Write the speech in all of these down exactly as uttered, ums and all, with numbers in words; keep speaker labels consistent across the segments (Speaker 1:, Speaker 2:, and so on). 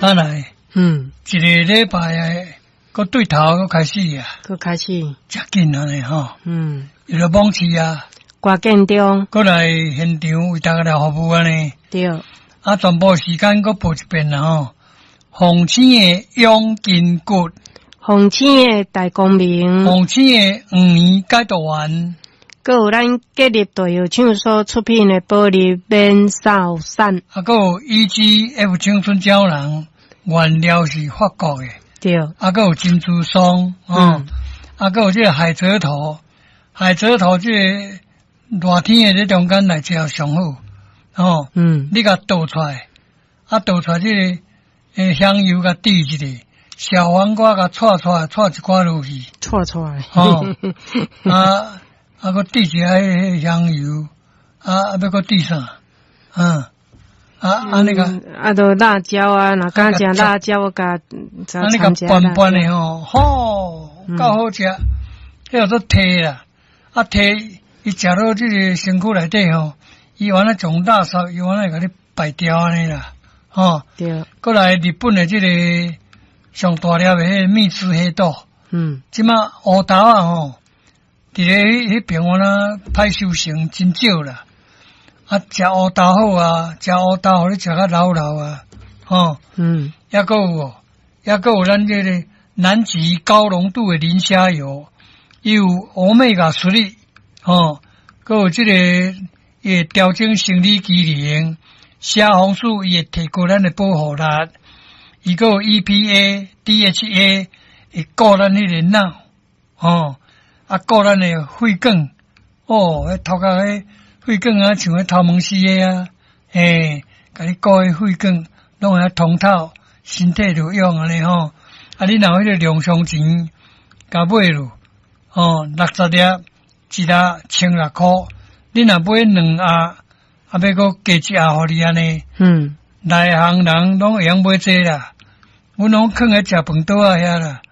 Speaker 1: 咱來
Speaker 2: 嗯，
Speaker 1: 一个禮拜的，閣對頭閣開始啊，
Speaker 2: 閣開始，
Speaker 1: 誠緊按呢吼，
Speaker 2: 嗯，
Speaker 1: 伊就網市啊，
Speaker 2: 歌建中，
Speaker 1: 閣來現場為大家來服務按呢。
Speaker 2: 對，
Speaker 1: 啊，全部時間閣報一遍啦吼。鳳青的養筋骨，
Speaker 2: 鳳青的大光明，
Speaker 1: 鳳青的黃連解毒丸，
Speaker 2: 閣有咱吉立大藥廠所出品的保利免掃散，
Speaker 1: 啊，閣有 E G F 青春膠囊，原料是法國的，
Speaker 2: 對，
Speaker 1: 啊，閣有珍珠霜，哦，
Speaker 2: 嗯
Speaker 1: 啊，閣有這個海蜇頭，海蜇頭這個熱天的這中間來食上好，哦，
Speaker 2: 嗯，
Speaker 1: 你共倒出來，啊，倒出來這個欸香油共滴一下，小黃瓜共掣掣掣一寡落去，
Speaker 2: 掣掣，
Speaker 1: 哦，啊啊，閣滴一下彼个香油，啊啊，欲閣滴啥？嗯，啊啊那個，
Speaker 2: 啊，就辣椒啊，若敢食辣椒，我共
Speaker 1: 啊你共拌拌的吼，吼，夠好食，彼叫做提啦，啊提，伊食落這個身軀內底吼，伊原來從垃圾，伊原來共你排掉按呢啦，吼，
Speaker 2: 對，
Speaker 1: 閣來日本的這個上大粒的彼个蜜汁黑豆，
Speaker 2: 嗯，
Speaker 1: 這馬烏豆仔吼，佇咧彼彼爿我若歹收成真少啦。啊，食烏豆好啊，食烏豆予你食較老老啊，吼，
Speaker 2: 嗯，
Speaker 1: 抑閣有哦，抑閣有咱這個南極高濃度的磷蝦油，伊有 Omega three，吼，閣有這個伊會調整生理機能，蝦紅素伊會提高咱的保護力，伊閣有 E P A、D H A 會顧咱彼個腦，吼，啊顧咱的血管，哦，彼頭殼彼血管啊，像彼頭毛絲的啊，嘿，共你顧彼血管攏會通透，身體就用按呢吼。啊，你若有彼個量上錢，共買落，吼，六十粒，一粒千六箍。你若買兩盒，啊，欲閣加一盒予你按呢。
Speaker 2: 嗯，
Speaker 1: 內行人攏會曉買這啦，阮攏囥佇食飯桌仔遐啦，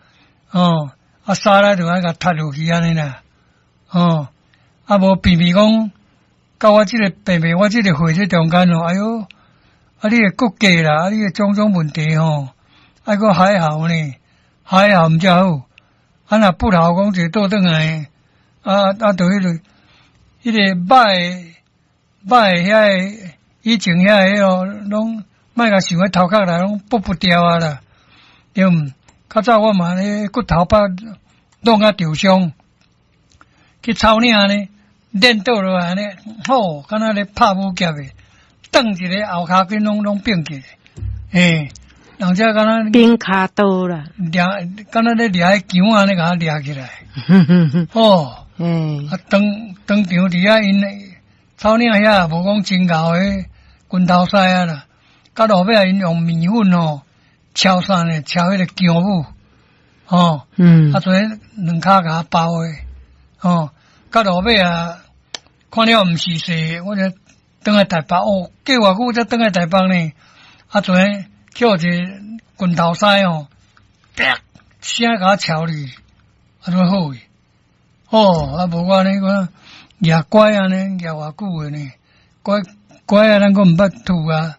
Speaker 1: 哦，啊，沙拉就愛共踢落去按呢啦，哦，啊無偏偏講，到我這個病病，我這個歲這中間哦，哎喲，啊你的骨骼啦，啊你的種種問題吼，愛閣海喉呢，海喉毋才好，啊若不喉講一個倒轉來，啊啊，就彼個，彼個肉的肉的遐个以前遐个哦，攏莫共想彼頭殼來攏剝不掉啊啦，對毋？較早我嘛咧骨頭腹弄甲受傷，去草嶺呢，練倒落來呢，吼，敢若咧拍武俠的，轉一个後跤筋攏攏變去，嘿，人遮敢若
Speaker 2: 變跤刀啦，
Speaker 1: 掠，敢若咧掠彼梘按呢，共掠起來，哦，
Speaker 2: 嗯，
Speaker 1: 啊，當當場佇遐𪜶草嶺遐無講真𠢕的拳頭師啊啦，到落尾𪜶用麵粉吼敲啥呢？敲彼個薑母，吼，
Speaker 2: 嗯，
Speaker 1: 啊，做兩跤共包的，吼，到落尾啊，看了毋是勢，我就轉來台北，哦，過偌久才轉來台北呢？啊，做叫一个拳頭師吼，啪聲共我敲去，啊，怎好去？哦，啊，無我按呢，我舉拐按呢，舉偌久的呢？拐拐啊，咱閣毋捌吐啊，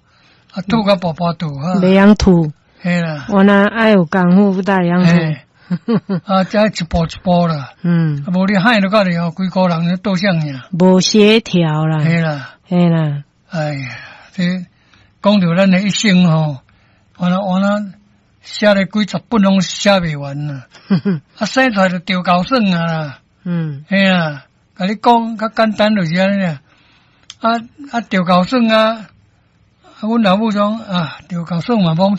Speaker 1: 啊吐甲跋跋吐啊，
Speaker 2: 袂曉吐，
Speaker 1: 嘿啦，
Speaker 2: 我若愛有功夫，才會曉
Speaker 1: 吐。啊，這一步一步啦，
Speaker 2: 嗯，
Speaker 1: 啊，無你害落到咧吼，規個人咧倒向爾，
Speaker 2: 無協調啦，
Speaker 1: 嘿啦，
Speaker 2: 嘿啦，
Speaker 1: 哎呀，這講著咱的一生吼，我若我若寫了幾十本攏寫袂完啦，啊，生出來就著𠢕耍啊啦，
Speaker 2: 嗯，
Speaker 1: 嘿啊，共你講較簡單就是按呢，啊啊，著𠢕耍啊，啊，阮老母講啊，著𠢕耍嘛罔